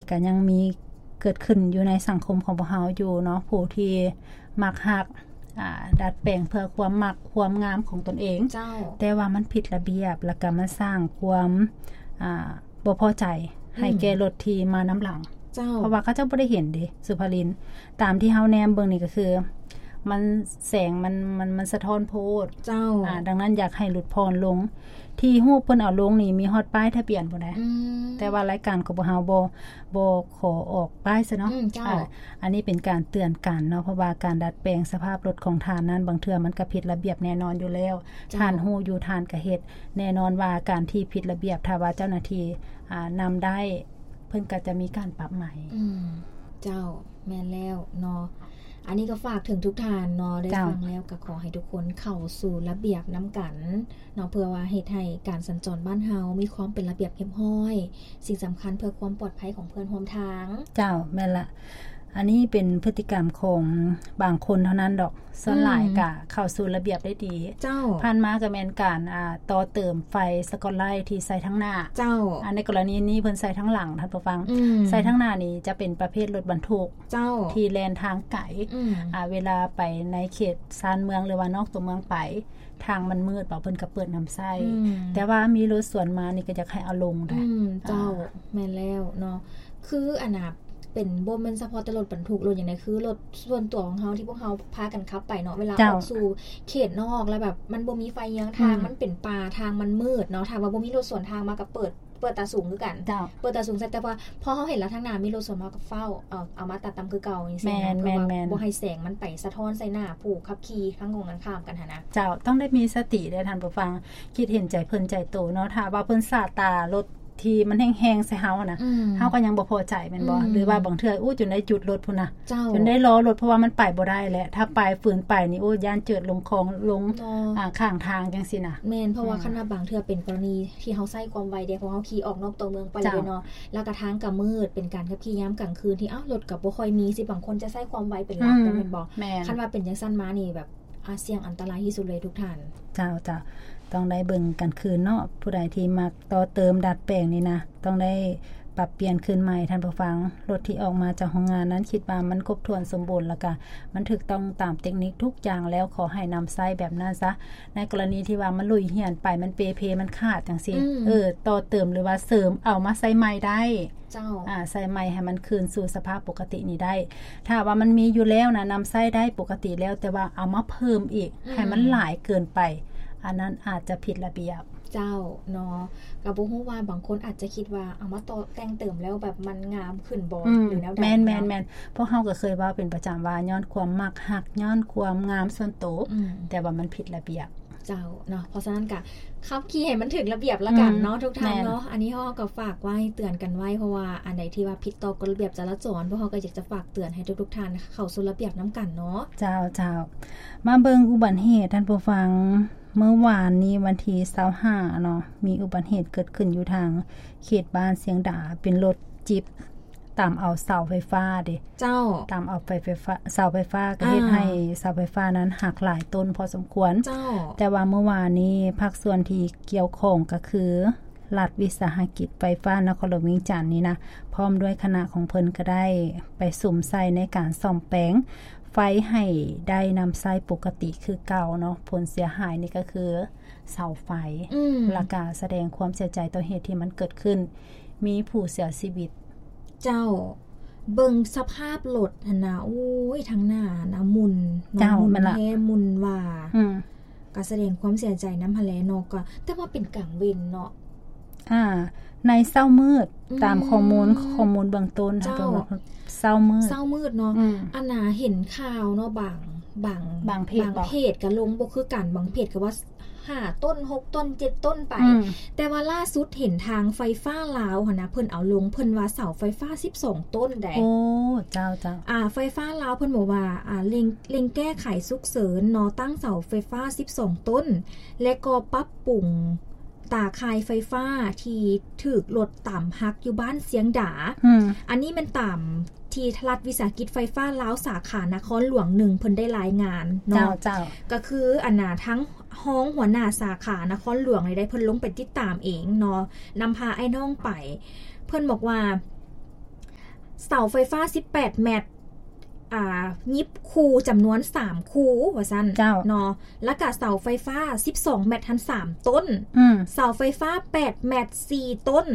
ກໍຍັງມີເກີດຂຶ້ນຢູ່ໃນສັງຄົມຂອງພວກເຮົາຢູ່ເນາະ ຜູ້ທີ່ມັກຮັກ ອ່າ ດັດແປງເພື່ອຄວາມມັກຄວາມງາມຂອງຕົນເອງ ເຈົ້າ ແຕ່ວ່າມັນຜິດລະບຽບ ແລ້ວກໍມັນສ້າງຄວາມ ອ່າ ບໍ່ພໍໃຈໃຫ້ ອືມ ແກ່ລົດທີ່ມານຳຫຼັງ ເຈົ້າ ເພາະວ່າເຂົາເຈົ້າບໍ່ໄດ້ເຫັນເດ້ ສຸພາລິນ ຕາມທີ່ເຮົາແນມເບິ່ງນີ້ກໍຄື ມັນ ແສງມັນ ມັນ ມັນສະທ້ອນໂພດ ເຈົ້າ ອ່າ ດັ່ງນັ້ນຢາກໃຫ້ຫຼຸດຜ່ອນລົງ ທີ່ຮູບເພິ່ນເອົາລົງນີ້ມີຮອດປ້າຍທະບຽນພຸ້ນນະ ອືມ ແຕ່ວ່າລາຍການຂອງພວກເຮົາບໍ່ ບໍ່ຂໍອອກປ້າຍຊະເນາະ ອືມ ເຈົ້າ ອ່າ ອັນນີ້ເປັນການເຕືອນກັນເນາະ ເພາະວ່າການດັດແປງສະພາບລົດຂອງທ່ານນັ້ນ ບາງເທື່ອມັນກໍຜິດລະບຽບແນ່ນອນຢູ່ແລ້ວ ເຈົ້າ ທ່ານຮູ້ຢູ່ ທ່ານກໍເຮັດ ແນ່ນອນວ່າການທີ່ຜິດລະບຽບ ຖ້າວ່າເຈົ້າໜ້າທີ່ ອ່າ ນຳໄດ້ ເພິ່ນກໍຈະມີການປັບໃໝ ອືມ ເຈົ້າ ແມ່ນແລ້ວເນາະ ອັນນີ້ກໍຝາກເຖິງທຸກທ່ານເນາະ ໄດ້ ເຈົ້າ ຟັງແລ້ວກໍຂໍໃຫ້ທຸກຄົນເຂົ້າສູ່ລະບຽບນຳກັນເນາະ ເພື່ອວ່າເຮັດໃຫ້ການສັນຈອນບ້ານເຮົາມີຄວາມເປັນລະບຽບຮຽບຮ້ອຍ ສິ່ງສຳຄັນເພື່ອຄວາມປອດໄພຂອງເພື່ອນຮ່ວມທາງ ເຈົ້າ ແມ່ນລະ ອັນນີ້ເປັນພຶດຕິກຳຂອງບາງຄົນເທົ່ານັ້ນດອກ ສ່ວນຫຼາຍ ອືມ ກະເຂົ້າສູ່ລະບຽບໄດ້ດີ ເຈົ້າ ຜ່ານມາກໍແມ່ນການ ອ່າ ຕໍ່ເຕີມໄຟສະກອດໄລທີ່ໃສ່ທາງໜ້າ ເຈົ້າ ອັນໃນກໍລະນີນີ້ເພິ່ນໃສ່ທາງຫຼັງ ທ່ານຜູ້ຟັງ ອືມ ໃສ່ທາງໜ້ານີ້ຈະເປັນປະເພດລົດບັນທຸກ ເຈົ້າ ທີ່ແລ່ນທາງໄກ ອືມ ອ່າ ເວລາໄປໃນເຂດຊານເມືອງ ຫຼືວ່ານອກຕົວເມືອງໄປ ທາງມັນມືດ ເພິ່ນກໍເປີດນຳໃຊ້ ອືມ ແຕ່ວ່າມີລົດສວນມານີ້ກໍຢາກໃຫ້ເອົາລົງໄດ໋ ອືມ ເຈົ້າ ອ່າ ແມ່ນແລ້ວເນາະ ຄືອັນນ່າ ເປັນ ບໍ່ແມ່ນສະເພາະແຕ່ລົດບັນທຸກ ລົດຫຍັງໃດ ຄືລົດສ່ວນຕົວຂອງເຮົາທີ່ພວກເຮົາພາກັນຂັບໄປເນາະ ເວລາ ເຈົ້າ ອອກສູ່ເຂດນອກ ແລ້ວແບບມັນບໍ່ມີໄຟເຍືອງທາງ ອືມ ມັນເປັນປ່າ ທາງມັນມືດເນາະ ຖ້າວ່າບໍ່ມີລົດສວນທາງມາກໍເປີດ ເປີດຕາສູງຄືກັນ ເຈົ້າ ເປີດຕາສູງໃສ່ ແຕ່ວ່າພໍເຮົາເຫັນແລ້ວທາງໜ້າມີລົດສວນ ເຮົາກໍຟ້າວເອົາ ເອົາມາຕັດຕ່ຳຄືເກົ່າຈັ່ງຊີ້ນະ ແມ່ນ ເພື່ອວ່າ ແມ່ນ ແມ່ນ ບໍ່ໃຫ້ແສງມັນໄປສະທ້ອນໃສ່ໜ້າຜູ້ຂັບຂີ່ທາງກົງກັນຂ້າມກັນຫັ້ນນະ ເຈົ້າ ຕ້ອງໄດ້ມີສະຕິເດ້ທ່ານຜູ້ຟັງ ຄິດເຫັນໃຈເພິ່ນໃຈໂຕເນາະ ຖ້າວ່າເພິ່ນສາດຕາລົດ ທີ່ມັນແຮງໆໃສ່ເຮົານະ ອືມ ເຮົາກໍຍັງບໍ່ພໍໃຈແມ່ນບໍ່? ອືມ ຫຼືວ່າບາງເທື່ອ ໂອ້ ຈົນໄດ້ຢຸດລົດພຸ້ນນະ ເຈົ້າ ຈົນໄດ້ລໍລົດ ເພາະວ່າມັນໄປບໍ່ໄດ້ແຫຼະ ຖ້າໄປ ຝືນໄປນີ້ ໂອ້ ຢ້ານເຈີລົງຄອງ ລົງ ເນາະ ອ່າ ຂ້າງທາງຈັ່ງຊີ້ນະ ແມ່ນ ເພາະວ່າ ອືມ ຄັນວ່າບາງເທື່ອເປັນກໍລະນີທີ່ເຮົາໃຊ້ຄວາມໄວເດ້ ເພາະເຮົາຂີ່ອອກນອກຕົວເມືອງໄປເລີຍເນາະ ເຈົ້າ ແລ້ວກໍທາງກໍມືດ ເປັນການຂັບຂີ່ຍາມກາງຄືນ ທີ່ ເອົ້າ ລົດກໍບໍ່ຄ່ອຍມີ ຊິບາງຄົນຈະໃຊ້ຄວາມໄວເປັນຫຼັກ ອືມ ແມ່ນບໍ່? ແມ່ນ ຄັນວ່າເປັນຈັ່ງຊັ້ນມານີ້ແບບ ອາ ສ່ຽງອັນຕະລາຍທີ່ສຸດເລີຍທຸກທ່ານ ເຈົ້າ ເຈົ້າ ຕ້ອງໄດ້ເບິ່ງກັນຄືນເນາະ ຜູ້ໃດທີ່ມັກຕໍ່ເຕີມດັດແປງນີ້ນະ ຕ້ອງໄດ້ປັບປ່ຽນຄືນໃໝ່ ທ່ານຜູ້ຟັງ ລົດທີ່ອອກມາຈາກໂຮງງານນັ້ນ ຄິດວ່າມັນຄົບຖ້ວນສົມບູນ ແລ້ວກະມັນຖືກຕ້ອງຕາມເຕັກນິກທຸກຢ່າງແລ້ວ ຂໍໃຫ້ນຳໃຊ້ແບບນັ້ນຊະ ໃນກໍລະນີທີ່ວ່າມັນຫຼຸຍຮຽນໄປ ມັນເປເພ ມັນຂາດຈັ່ງຊີ້ ອືມ ເອີ ຕໍ່ເຕີມ ຫຼືວ່າເສີມເອົາມາໃສ່ໃໝ່ໄດ້ ເຈົ້າ ອ່າ ໃສ່ໃໝ່ໃຫ້ມັນຄືນສູ່ສະພາບປົກກະຕິນີ້ໄດ້ ຖ້າວ່າມັນມີຢູ່ແລ້ວນະ ນຳໃຊ້ໄດ້ປົກກະຕິແລ້ວ ແຕ່ວ່າເອົາມາເພີ່ມອີກ ອືມ ໃຫ້ມັນຫຼາຍເກີນໄປ ອັນນັ້ນອາດຈະຜິດລະບຽບ ເຈົ້າ ເນາະ ກໍບໍ່ຮູ້ວ່າບາງຄົນອາດຈະຄິດວ່າເອົາມາຕໍ່ແຕ່ງເຕີມແລ້ວແບບມັນງາມຂຶ້ນບໍ່ ອືມ ຫຼືແນວໃດ ແມ່ນໆໆ ເນາະ ພວກເຮົາກໍເຄີຍເວົ້າເປັນປະຈຳວ່າ ຍ້ອນຄວາມມັກຮັກ ຍ້ອນຄວາມງາມສ່ວນໂຕ ອືມ ແຕ່ວ່າມັນຜິດລະບຽບ ເຈົ້າ ເນາະ ເພາະສະນັ້ນກະຂັບຂີ່ໃຫ້ມັນຖືກລະບຽບລະກັນເນາະ ອືມ ທຸກທ່ານເນາະ ແມ່ນ ອັນນີ້ເຮົາກໍຝາກໄວ້ເຕືອນກັນໄວ້ ເພາະວ່າອັນໃດທີ່ວ່າຜິດຕໍ່ກົດລະບຽບຈະລາຈອນ ພວກເຮົາກໍຢາກຈະຝາກເຕືອນໃຫ້ທຸກໆທ່ານເຂົ້າສູ່ລະບຽບນຳກັນເນາະ ເຈົ້າ ເຈົ້າ ມາເບິ່ງອຸບັດເຫດ ທ່ານຜູ້ຟັງ ມື້ວານນີ້ວັນທີຊາວຫ້າເນາະ ມີອຸບັດເຫດເກີດຂຶ້ນຢູ່ທາງເຂດບ້ານຊຽງດາ ເປັນລົດຈິບຕຳເອົາເສົາໄຟຟ້າເດ້ ເຈົ້າ ຕຳເອົາໄຟ ໄຟຟ້າ ເສົາໄຟຟ້າ ກໍເຮັດ ອ່າ ໃຫ້ເສົາໄຟຟ້ານັ້ນຫັກຫຼາຍຕົ້ນພໍສົມຄວນ ເຈົ້າ ແຕ່ວ່າມື້ວານນີ້ພາກສ່ວນທີ່ກ່ຽວຂ້ອງກໍຄື ລັດວິສາຫະກິດໄຟຟ້ານະຄອນຫຼວງວຽງຈັນນີ້ນະ ພ້ອມດ້ວຍຄະນະຂອງເພິ່ນກໍໄດ້ໄປສຸມໃສ່ໃນການສ້ອມແປງໄຟໃຫ້ໄດ້ນຳໃຊ້ປົກກະຕິຄືເກົ່າເນາະ ຜົນເສຍຫາຍນີ້ກໍຄືເສົາໄຟ ອືມ ແລ້ວກະສະແດງຄວາມເສຍໃຈຕໍ່ເຫດທີ່ມັນເກີດຂຶ້ນ ມີຜູ້ເສຍຊີວິດ ເຈົ້າ ເບິ່ງສະພາບລົດຫັ້ນນະ ໂອ້ຍ ທາງໜ້ານະໝຸ່ນເນາະ ເຈົ້າ ໝຸ່ນແຮ ໝຸ່ນວ່າ ອືມ ກໍສະແດງຄວາມເສຍໃຈນຳຫັ້ນແຫຼະເນາະ ກໍ ແຕ່ວ່າເປັນກາງເວັນເນາະ ອ່າ ໃນເຊົ້າມືດ ອືມ ຕາມຂໍ້ມູນ ຂໍ້ມູນເບື້ອງຕົ້ນ ເຈົ້າ ເຊົ້າມືດ ເຊົ້າມືດເນາະ ອືມ ອັນນ່າເຫັນຂ່າວເນາະ ບາງ ບາງ ບາງເພຈ ບາງເພຈກໍລົງບໍ່ຄືກັນ ບາງເພຈກໍວ່າ ຫ້າຕົ້ນ ຫົກຕົ້ນ ເຈັດຕົ້ນໄປ ອືມ ແຕ່ວ່າລ່າສຸດເຫັນທາງໄຟຟ້າລາວຫັ້ນນະ ເພິ່ນເອົາລົງ ເພິ່ນວ່າເສົາໄຟຟ້າສິບສອງຕົ້ນໃດ໋ ໂອ້ ເຈົ້າໆ ອ່າ ໄຟຟ້າລາວເພິ່ນບອກວ່າ ອ່າ ເລັ່ງ ເລັ່ງແກ້ໄຂສຸກເສີນເນາະ ຕັ້ງເສົາໄຟຟ້າສິບສອງຕົ້ນ ແລະກໍປັບປຸງຕາຂ່າຍໄຟຟ້າທີ່ຖືກລົດຕຳຫັກຢູ່ບ້ານຊຽງດາ ອືມ ອັນນີ້ແມ່ນຕາມ ທີ່ລັດວິສາຫະກິດໄຟຟ້າລາວສາຂານະຄອນຫຼວງໜຶ່ງ ເພິ່ນໄດ້ລາຍງານເນາະ ເຈົ້າ ເຈົ້າ ກໍຄືອັນນ່າ ທາງຮອງຫົວໜ້າສາຂານະຄອນຫຼວງນີ້ໄດ້ ເພິ່ນລົງໄປຕິດຕາມເອງເນາະ ນຳພາອ້າຍນ້ອງໄປ ເພິ່ນບອກວ່າ ເສົາໄຟຟ້າສິບແປດແມັດ ອ່າ ຫຍິບຄູ່ຈຳນວນສາມຄູ່ວ່າຊັ້ນ ເຈົ້າ ເນາະ ແລ້ວກະເສົາໄຟຟ້າສິບສອງແມັດຫັ້ນສາມຕົ້ນ ອືມ ເສົາໄຟຟ້າແປດແມັດສີ່ຕົ້ນ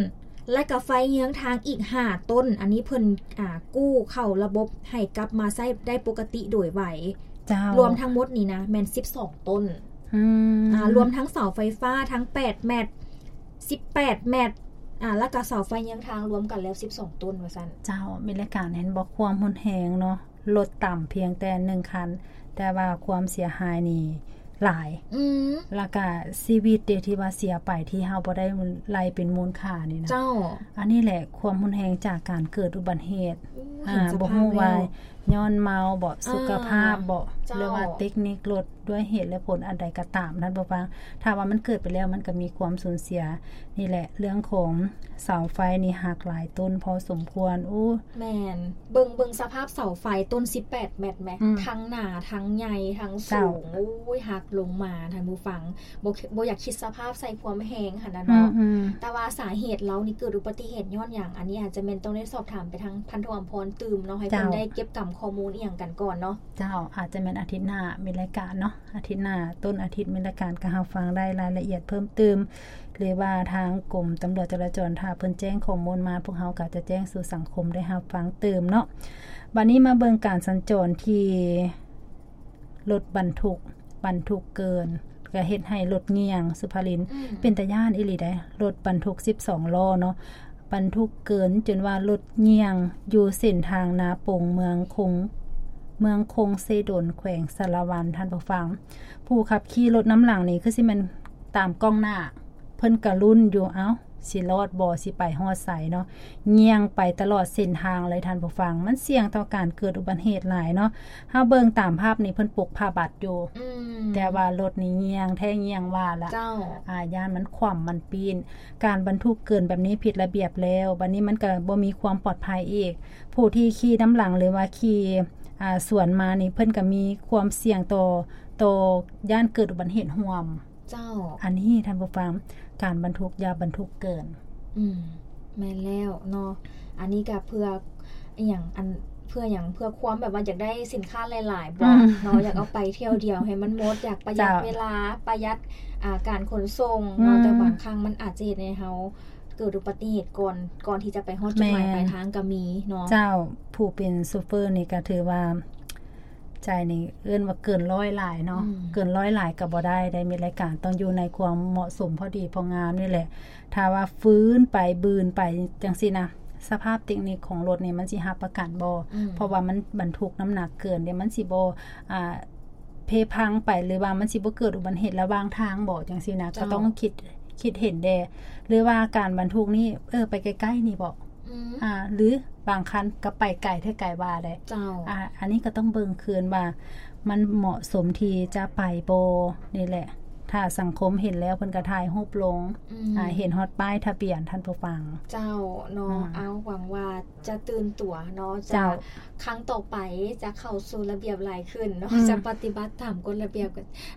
ແລ້ວກະໄຟເຍືອງທາງອີກຫ້າຕົ້ນ. ອັນນີ້ເພິ່ນ ອ່າ ກູ້ເຂົ້າລະບົບໃຫ້ກັບມາໃຊ້ໄດ້ປົກກະຕິໂດຍໄວ. ເຈົ້າ ລວມທັງໝົດນີ້ນະ ແມ່ນສິບສອງຕົ້ນ ອືມ ອ່າ ລວມທັງເສົາໄຟຟ້າທັງແປດແມັດ ສິບແປດແມັດ ອ່າ ແລ້ວກະເສົາໄຟເຍືອງທາງລວມກັນແລ້ວສິບສອງຕົ້ນວ່າຊັ້ນ. ເຈົ້າ ມີລາຍການເຫັນບໍ່ ຄວາມຮຸນແຮງເນາະ ລົດຕຳພຽງແຕ່ໜຶ່ງຄັນ ແຕ່ວ່າຄວາມເສຍຫາຍນີ້ຫຼາຍ ອືມ ແລ້ວກະຊີວິດເດ ທີ່ວ່າເສຍໄປ ທີ່ເຮົາບໍ່ໄດ້ໄລ່ເປັນມູນຄ່ານີ້ນະ. ເຈົ້າ ອັນນີ້ແຫຼະຄວາມຮຸນແຮງຈາກການເກີດອຸບັດເຫດ ອືມ ອ່າ ເຫັນສະພາບ ບໍ່ຮູ້ວ່າ ແລ້ວ ຍ້ອນເມົາບໍ ອ່າ ສຸຂະພາບບໍ ເຈົ້າ ຫຼືວ່າເຕັກນິກລົດ ດ້ວຍເຫດ ແລະ ຜົນອັນໃດກໍຕາມ ທ່ານຜູ້ຟັງ ຖ້າວ່າມັນເກີດໄປແລ້ວ ມັນກໍມີຄວາມສູນເສຍ. ນີ້ແຫຼະ ເລື່ອງຂອງເສົາໄຟນີ້ຫັກຫຼາຍຕົ້ນພໍສົມຄວນ. ໂອ້ ແມ່ນ ເບິ່ງ ເບິ່ງສະພາບເສົາໄຟຕົ້ນສິບແປດແມັດແມ ອືມ ທັງໜາ ທັງໃຫຍ່ ທັງສູງ ເຈົ້າ ໂອ້ຍ ຫັກລົງມາ ທ່ານຜູ້ຟັງ ບໍ່ ບໍ່ຢາກຄິດສະພາບໃສ່ຄວາມແຮງຫັ້ນນະເນາະ ອືມໆ ແຕ່ວ່າສາເຫດລາວນີ້ເກີດອຸບັດຕິເຫດຍ້ອນຫຍັງ ອັນນີ້ອາດຈະແມ່ນຕ້ອງໄດ້ສອບຖາມໄປທາງພັນໂທອຳພອນຕື່ມເນາະ ໃຫ້ເພິ່ນ ເຈົ້າ ໄດ້ເກັບກຳຂໍ້ມູນອີ່ຫຍັງກັນກ່ອນເນາະ. ເຈົ້າ ອາດຈະແມ່ນອາທິດໜ້າມີລາຍການເນາະ ອາທິດໜ້າ ຕົ້ນອາທິດມີລາຍການ ກໍຮັບຟັງໄດ້ລາຍລະອຽດເພີ່ມຕື່ມ ຫຼືວ່າທາງກົມຕຳຫຼວດຈະລາຈອນ ຖ້າເພິ່ນແຈ້ງຂໍ້ມູນມາ ພວກເຮົາກໍຈະແຈ້ງສູ່ສັງຄົມໄດ້ຮັບຟັງຕື່ມເນາະ. ບັດນີ້ມາເບິ່ງການສັນຈອນທີ່ລົດບັນທຸກ ບັນທຸກເກີນ ກໍເຮັດໃຫ້ລົດງ່ຽງ ສຸພາລິນ ອືມ ເປັນຕາຢ້ານອີ່ຫຼີໃດ໋ ລົດບັນທຸກສິບສອງລໍ້ເນາະ ບັນທຸກເກີນຈົນວ່າລົດງ່ຽງຢູ່ເສັ້ນທາງນາປົງ ເມືອງຄົງ ເມືອງຄົງເຊດົນ ແຂວງສາລະວັນ ທ່ານຜູ້ຟັງ. ຜູ້ຂັບຂີ່ລົດນຳຫຼັງນີ້ຄືຊິແມ່ນຕາມກ້ອງໜ້າ ເພິ່ນກະລຸ້ນຢູ່ ເອົ້າ ຊິລອດບໍ່ ຊິໄປຮອດໃສເນາະ ຍ່ຽງໄປຕະຫຼອດເສັ້ນທາງເລີຍ ທ່ານຜູ້ຟັງ. ມັນສ່ຽງຕໍ່ການເກີດອຸບັດເຫດຫຼາຍເນາະ. ເຮົາເບິ່ງຕາມພາບນີ້ ເພິ່ນປົກຜ້າບັດຢູ່ ອືມ ແຕ່ວ່າລົດນີ້ຍ່ຽງແທ້ຍ່ຽງວ່າລະ ເຈົ້າ ອາ ຢ້ານມັນຂວ້ຳມັນປີ້ນ. ການບັນທຸກເກີນແບບນີ້ຜິດລະບຽບແລ້ວ ບັດນີ້ມັນກະບໍ່ມີຄວາມປອດໄພອີກ. ຜູ້ທີ່ຂີ່ນຳຫຼັງ ຫຼືວ່າຂີ່ ອາ ສວນມານີ້ ເພິ່ນກະມີຄວາມສ່ຽງຕໍ່ ຕໍ່ຢ້ານເກີດອຸບັດເຫດຮ່ວມ. ເຈົ້າ ອັນນີ້ທ່ານຜູ້ຟັງ ການບັນທຸກຢ່າບັນທຸກເກີນ. ອືມ ແມ່ນແລ້ວເນາະ ອັນນີ້ກະເພື່ອອີ່ຫຍັງ ອັນ ເພື່ອຫຍັງ ເພື່ອຄວາມແບບວ່າຢາກໄດ້ສິນຄ້າຫຼາຍໆບໍ ອືມ ເນາະ ຢາກເອົາໄປທ່ຽວດຽວໃຫ້ມັນໝົດ ຢາກປະຢັດ ເຈົ້າ ເວລາ ປະຢັດ ອ່າ ການຂົນສົ່ງເນາະ ອືມ ແຕ່ບາງຄັ້ງມັນອາດຈະເຮັດໃຫ້ເຮົາເກີດອຸບັດຕິເຫດກ່ອນ ກ່ອນທີ່ຈະໄປຮອດຈຸດໝາຍ ແມ່ນ ປາຍທາງກໍມີເນາະ. ເຈົ້າ ຜູ້ເປັນໂຊເຟີນີ້ກໍຖືວ່າ ໃຈນີ້ເອີ້ນວ່າເກີນຮ້ອຍຫຼາຍເນາະ ອືມ ເກີນຮ້ອຍຫຼາຍກໍບໍ່ໄດ້ ໄດ້ມີລາຍການ ຕ້ອງຢູ່ໃນຄວາມເໝາະສົມພໍດີພໍງາມນີ້ແຫຼະ. ຖ້າວ່າຝືນໄປ ບືນໄປຈັ່ງຊີ້ນະ ສະພາບເຕັກນິກຂອງລົດນີ້ມັນຊິຮັບປະກັນບໍ່? ອືມ ເພາະວ່າມັນບັນທຸກນ້ຳໜັກເກີນເດ້ ມັນຊິບໍ່ ອ່າ ເພພັງໄປ ຫຼືວ່າມັນຊິບໍ່ເກີດອຸບັດເຫດລະຫວ່າງທາງບໍ່ ຈັ່ງຊີ້ນະ ເຈົ້າ ກໍຕ້ອງຄິດ ຄິດເຫັນແດ່ ຫຼືວ່າການບັນທຸກນີ້ ເອີ ໄປໃກ້ໆນີ້ບໍ ອືມ ອ່າ ຫຼືບາງຄັນກໍໄປໄກແທ້ໄກວ່າໄດ້ ເຈົ້າ ອ່າ ອັນນີ້ກໍຕ້ອງເບິ່ງຄືນວ່າມັນເໝາະສົມທີ່ຈະໄປບໍ່ ນີ້ແຫຼະ ຖ້າສັງຄົມເຫັນແລ້ວເພິ່ນກໍຖ່າຍຮູບລົງ ອືມ ອ່າ ເຫັນຮອດປ້າຍທະບຽນ ທ່ານຜູ້ຟັງ. ເຈົ້າເນາະ ອືມ ເອົາ ຫວັງວ່າຈະຕື່ນຕົວເນາະ ຈະ ເຈົ້າ ຄັ້ງຕໍ່ໄປຈະເຂົ້າສູ່ລະບຽບຫຼາຍຂຶ້ນເນາະ ອືມ ຈະປະຕິບັດຕາມກົດລະບຽບ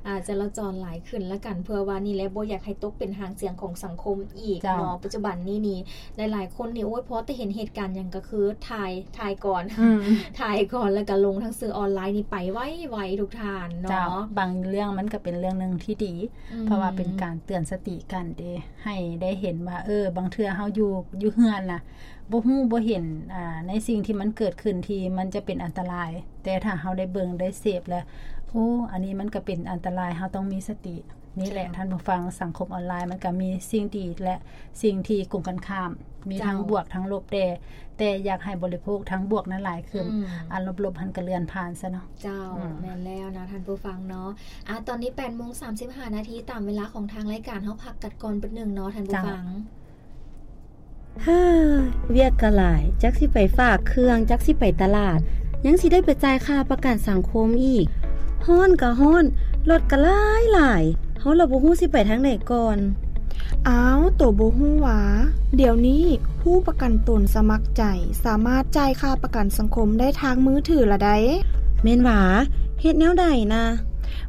ອ່າ ຈະລາຈອນຫຼາຍຂຶ້ນລະກັນ ເພື່ອວ່ານີ້ແຫຼະ ບໍ່ຢາກໃຫ້ຕົກເປັນຫາງສຽງຂອງສັງຄົມອີກ ເຈົ້າ ເນາະ. ປັດຈຸບັນນີ້ນີ້ ຫຼາຍໆຄົນນີ້ ໂອ້ຍ ພໍແຕ່ເຫັນເຫດການຫຍັງກໍຄືຖ່າຍ ຖ່າຍກ່ອນ ອືມ ຖ່າຍກ່ອນ ແລ້ວກໍລົງທາງສື່ອອນລາຍນີ້ໄປໄວໆ ທຸກທ່ານເນາະ ເຈົ້າ. ບາງເລື່ອງມັນກໍເປັນເລື່ອງໜຶ່ງທີ່ດີ ອືມ ເພາະວ່າເປັນການເຕືອນສະຕິກັນເດ້ ໃຫ້ໄດ້ເຫັນວ່າ ເອີ ບາງເທື່ອເຮົາຢູ່ ຢູ່ເຮືອນນະ ບໍ່ຮູ້ບໍ່ເຫັນ ອ່າ ໃນສິ່ງທີ່ມັນເກີດຂຶ້ນທີ່ມັນຈະເປັນອັນຕະລາຍ ແຕ່ຖ້າເຮົາໄດ້ເບິ່ງໄດ້ເສບແລ້ວ ໂອ້ ອັນນີ້ມັນກໍເປັນອັນຕະລາຍ ເຮົາຕ້ອງມີສະຕິ. ນີ້ແຫຼະ ເຈົ້າ ທ່ານຜູ້ຟັງ ສັງຄົມອອນລາຍມັນກໍມີສິ່ງດີ ແລະ ສິ່ງທີ່ກົງກັນຂ້າມ ມີທັງ ເຈົ້າ ບວກທັງລົບແດ່ ແຕ່ຢາກໃຫ້ບໍລິໂພກທັງບວກນັ້ນຫຼາຍຂຶ້ນ ອືມ ອັນລົບໆຫັ້ນກໍເລື່ອນຜ່ານຊະເນາະ. ເຈົ້າ ອືມ ແມ່ນແລ້ວນະ ທ່ານຜູ້ຟັງເນາະ. ອາ ຕອນນີ້ແປດໂມງສາມສິບຫ້ານາທີ ຕາມເວລາຂອງທາງລາຍການ ເຮົາພັກກັນກ່ອນປຶດໜຶ່ງເນາະ ທ່ານຜູ້ ເຈົ້າ ຟັງ. ເຮີ ວຽກກໍຫຼາຍ ຈັກຊິໄປຝາກເຄື່ອງ ຈັກຊິໄປຕະຫຼາດ ຍັງຊິໄດ້ໄປຈ່າຍຄ່າປະກັນສັງຄົມອີກ ຮ້ອນກໍຮ້ອນ ລົດກໍຫຼາຍໆ ເຮົາລະບໍ່ຮູ້ຊິໄປທາງໃດກ່ອນ. ອ້າວ ໂຕບໍ່ຮູ້ຫວາ ດຽວນີ້ຜູ້ປະກັນຕົນສະໝັກໃຈ ສາມາດຈ່າຍຄ່າປະກັນສັງຄົມໄດ້ທາງມືຖືລະໃດ໋. ແມ່ນຫວາ? ເຮັດແນວໃດນະ?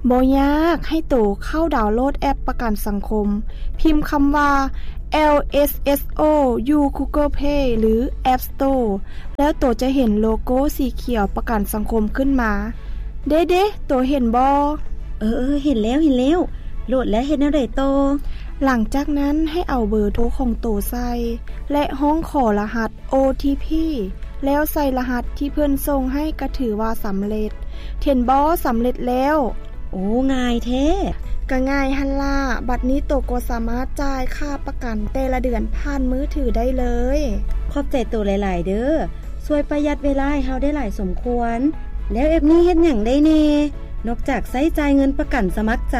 ບໍ່ຍາກ, ໃຫ້ໂຕເຂົ້າດາວໂຫຼດແອັບປະກັນສັງຄົມ, ພິມຄຳວ່າ ແອລ ເອສ ເອສ ໂອ ຢູ່ Google Play ຫຼື App Store ແລ້ວໂຕຈະເຫັນໂລໂກ້ສີຂຽວປະກັນສັງຄົມຂຶ້ນມາ. ເດ້ໆ, ໂຕເຫັນບໍ່? ເອີໆ, ເຫັນແລ້ວ, ເຫັນແລ້ວ. ໂຫຼດແລ້ວເຮັດແນວໃດຕໍ່? ຫຼັງຈາກນັ້ນໃຫ້ເອົາເບີໂທຂອງໂຕໃສ່ ແລະ ຮ້ອງຂໍລະຫັດ ໂອ ທີ ພີ ແລ້ວໃສ່ລະຫັດທີ່ເພິ່ນສົ່ງໃຫ້ກໍຖືວ່າສຳເລັດ. ເຫັນບໍ່? ສຳເລັດແລ້ວ. ໂອ້ ງ່າຍແທ້. ກໍງ່າຍຫັ້ນລະ. ບັດນີ້ໂຕກໍສາມາດຈ່າຍຄ່າປະກັນແຕ່ລະເດືອນຜ່ານມືຖືໄດ້ເລີຍ. ຂອບໃຈໂຕຫຼາຍໆເດີ້. ຊ່ວຍປະຢັດເວລາໃຫ້ເຮົາໄດ້ຫຼາຍສົມຄວນ. ແລ້ວແອັບນີ້ເຮັດຫຍັງໄດ້ແດ່? ນອກຈາກໃຊ້ຈ່າຍເງິນປະກັນສະໝັກໃຈ.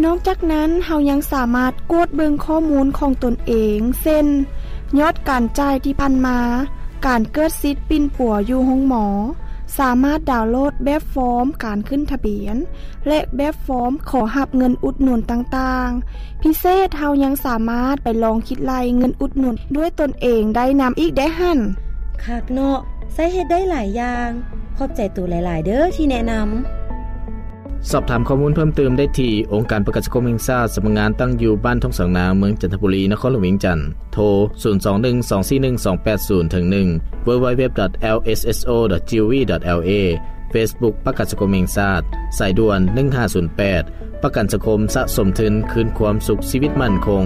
ນອກຈາກນັ້ນ, ເຮົາຍັງສາມາດກວດເບິ່ງຂໍ້ມູນຂອງຕົນເອງ ເຊັ່ນ ຍອດການຈ່າຍທີ່ຜ່ານມາ, ການເກີດສິດປິ່ນປົວຢູ່ໂຮງໝໍ, ສາມາດດາວໂຫຼດແບບຟອມການຂຶ້ນທະບຽນ ແລະ ແບບຟອມຂໍຮັບເງິນອຸດໜູນຕ່າງໆ. ພິເສດ, ເຮົາຍັງສາມາດໄປລອງຄິດໄລ່ເງິນອຸດໜູນດ້ວຍຕົນເອງໄດ້ນຳອີກເດ້ຫັ້ນ. ຄັກເນາະ, ໃຊ້ເຮັດໄດ້ຫຼາຍຢ່າງ. ຂອບໃຈໂຕຫຼາຍໆເດີ້ທີ່ແນະນຳ. ສອບຖາມຂໍ້ມູນເພີ່ມເຕີມໄດ້ທີ່ ອົງການປະກັນສັງຄົມແຫ່ງຊາດ, ສຳນັກງານຕັ້ງຢູ່ບ້ານທົ່ງສາງນາງ, ເມືອງຈັນທະບູລີ, ນະຄອນຫຼວງວຽງຈັນ. ໂທ ສູນສອງໜຶ່ງ ສອງສີ່ໜຶ່ງ ສອງແປດສູນ ເຖິງໜຶ່ງ, ເວັບໄບເວັບ ດອດ ແອລ ເອສ ເອສ ໂອ ດອດ ຈີ ໂອ ວີ ດອດ ແອລ ເອ, Facebook ປະກັນສັງຄົມແຫ່ງຊາດ, ສາຍດ່ວນ ໜຶ່ງຫ້າສູນແປດ, ປະກັນສັງຄົມສະສົມທຶນຄືນຄວາມສຸກຊີວິດໝັ້ນຄົງ.